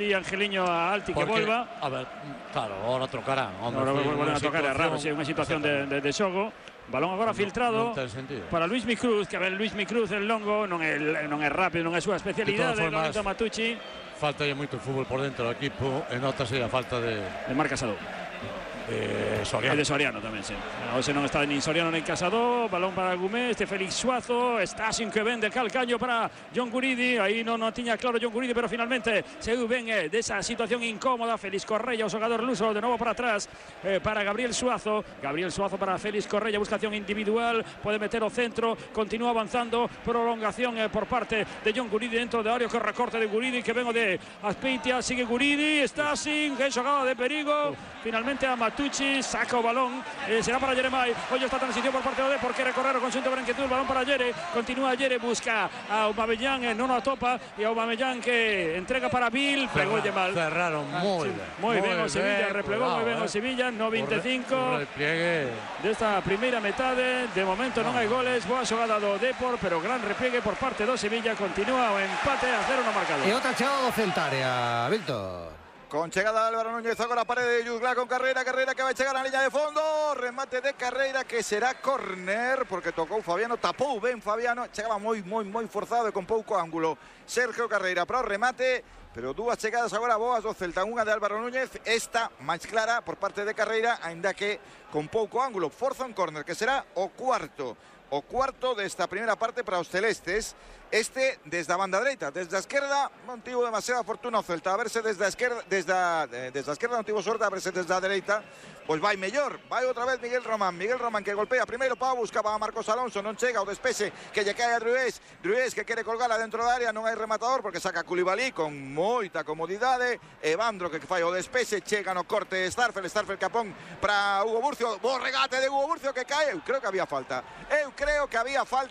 Y Angeliño a Alti que vuelva. A ver, claro, ahora trocarán. Ahora vuelven a tocar, é raro, sí, unha situación de xogo. Balón agora filtrado para Luismi Cruz, que a ver, Luismi Cruz el longo, non é rápido, non é a súa especialidade, Lorenzo Matucci. Falta aí moito fútbol por dentro do equipo, e notase a falta de Marc Casado. Soriano. De Soriano tamén, sí. Hoxe non está nin Soriano nin Casado. Balón para Gumé, Félix Suazo. Está sin que ven de calcaño para John Guridi. Aí non tiña claro John Guridi, pero finalmente se ven desa situación incómoda. Félix Correia, o xogador luso, de novo para atrás para Gabriel Suazo. Gabriel Suazo para Félix Correia, busca acción individual, pode meter o centro, continúa avanzando, prolongación por parte de John Guridi dentro de área, que recorte de Guridi, que vengo de Azpeitia, sigue Guridi, está sin, que xogada de perigo. Finalmente a Matucci, saca o balón, será para Jeremai. Hoy esta transición por parte do Depor, que recorrer o conxunto branqueazul, balón para Yere, continúa Yere, busca a Aubameyang, non a topa, e Aubameyang que entrega para Bill, pegou mal. Cerraron moi ben o Sevilla, replegou moi ben o Sevilla, 95 desta primeira metade. De momento non hai goles, boa xogada do Depor, pero gran repliegue por parte do Sevilla, continúa o empate a 0 no marcador. E outra chegada do Celtaria, Víctor. Con chegada de Álvaro Núñez, agora parede de Yuzglá con Carreira que vai chegar a liña de fondo, remate de Carreira que será córner, porque tocou Fabiano, tapou ben Fabiano, chegaba moi forzado e con pouco ángulo Sergio Carreira para o remate, pero dúas chegadas agora boas do Celta, unha de Álvaro Núñez, esta máis clara por parte de Carreira, aínda que con pouco ángulo, forza un córner que será o cuarto desta primeira parte para os celestes. Este desde a banda dereita, desde a esquerda non tivo demasiada fortuna o Celta, a verse desde a esquerda, desde a esquerda non tivo sorte, a verse desde a dereita, pois vai mellor, vai outra vez Miguel Román que golpea primeiro Pau, buscaba a Marcos Alonso, non chega o despexe que lle cae a Drués que quere colgala dentro da área, non hai rematador porque saca Coulibaly con moita comodidade, Evandro que fai o despexe, chega no corte Starfel Capón para Hugo Burcio, bo regate de Hugo Burcio que cae, eu creo que había falta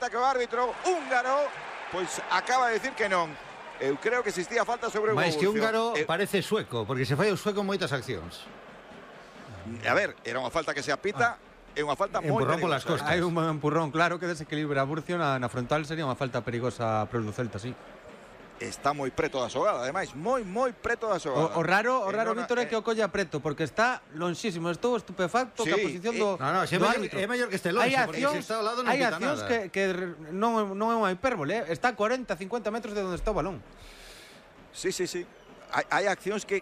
que o árbitro húngaro pois acaba de decir que non. Eu creo que existía falta sobre Hugo Burcio. Mais que húngaro parece sueco, porque se fai o sueco en moitas accións. A ver, era unha falta que se apita, é unha falta moi empurrón perigosa. polas costas. Hai un empurrón claro que desequilibra a Burcio na frontal, sería unha falta perigosa para o Celta, sí. Está moi preto da xogada, ademais, moi preto da xogada. O raro, Víctor, é que o colla preto, porque está lonxísimo. Estou estupefacto que a posición do árbitro. É mellor que este lonxe, porque se está ao lado non pita nada. Hai accións que non é unha hipérbole, está a 40-50 metros de onde está o balón. Sí. Hai accións que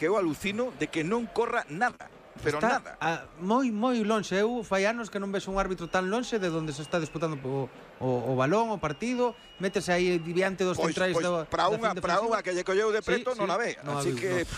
eu alucino de que non corra nada. Pero está nada. Moi lonxe. Eu fai anos que non vexo un árbitro tan lonxe de onde se está disputando o balón, o partido, métese aí diante dos centrais para unha que lle colleu de preto non a ve. Así que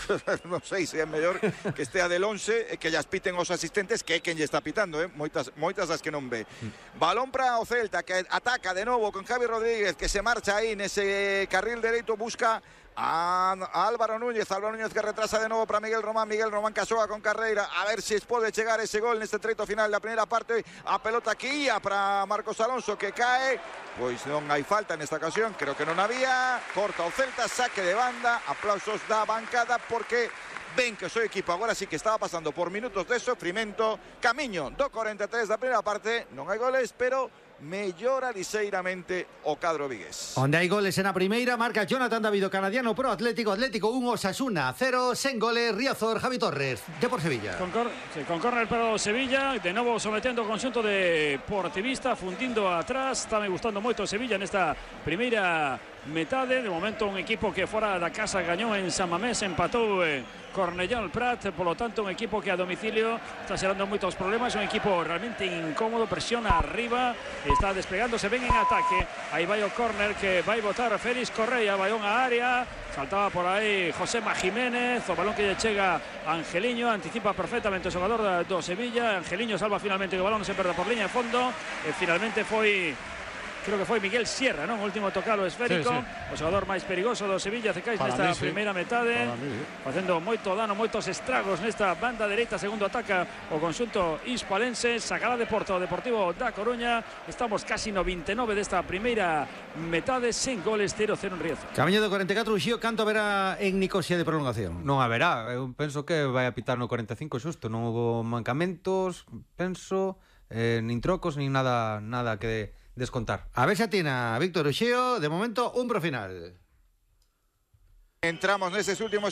non sei se é mellor que estea de lonxe e que llas piten os asistentes, que é quen lle está pitando, moitas das que non ve. Balón para o Celta que ataca de novo con Javi Rodríguez, que se marcha aí nese carril dereito, busca a Álvaro Núñez que retrasa de novo para Miguel Román que xoga con Carreira, a ver se pode chegar ese gol neste treito final da primeira parte. A pelota que ia para Marcos Alonso que cae, pois non hai falta nesta ocasión, creo que non había, corta o Celta, saque de banda, aplausos da bancada porque ven que o seu equipo agora sí que estaba pasando por minutos de sofrimento. Camiño do 43 da primeira parte, non hai goles, pero mellora liseiramente o cadro vigués. Onde hai goles en a primeira, marca Jonathan David, canadiano pro Atlético 1, Osasuna 0, sen goles, Riazor, Javi Torres, Depor Sevilla. Con córner para o Sevilla, de novo sometendo o conxunto deportivista, fundindo atrás, está me gustando moito o Sevilla nesta primeira metade. De momento un equipo que fora da casa gañou en San Mamés, empatou Cornellá Prat, polo tanto un equipo que a domicilio está xerando moitos problemas, un equipo realmente incómodo, presiona arriba, está desplegándose ben en ataque. Aí vai o córner que vai botar Félix Correia, vai unha área, saltaba por aí Josema Jiménez, o balón que lle chega a Angeliño, anticipa perfectamente o xogador do Sevilla, Angeliño salva finalmente que o balón se perda por liña de fondo, e finalmente creo que foi Miguel Sierra, non? O último tocalo esférico, o xogador máis perigoso do Sevilla, Cecais nesta primeira metade, facendo moito dano, moitos estragos nesta banda dereita, segundo ataca o conxunto hispalense, sacará de Porto o Deportivo da Coruña. Estamos casi no 29 desta primeira metade, sen goles, 0-0 en Riazor. Camiño do 44, Uxío, canto haberá en Nicosia de prolongación? Non haberá, eu penso que vai a pitar no 45 xusto, non houve mancamentos, penso, nin trocos, nin nada que descontar. A ver se atina Víctor Uxío, de momento un pro final. Entramos neses últimos segundos.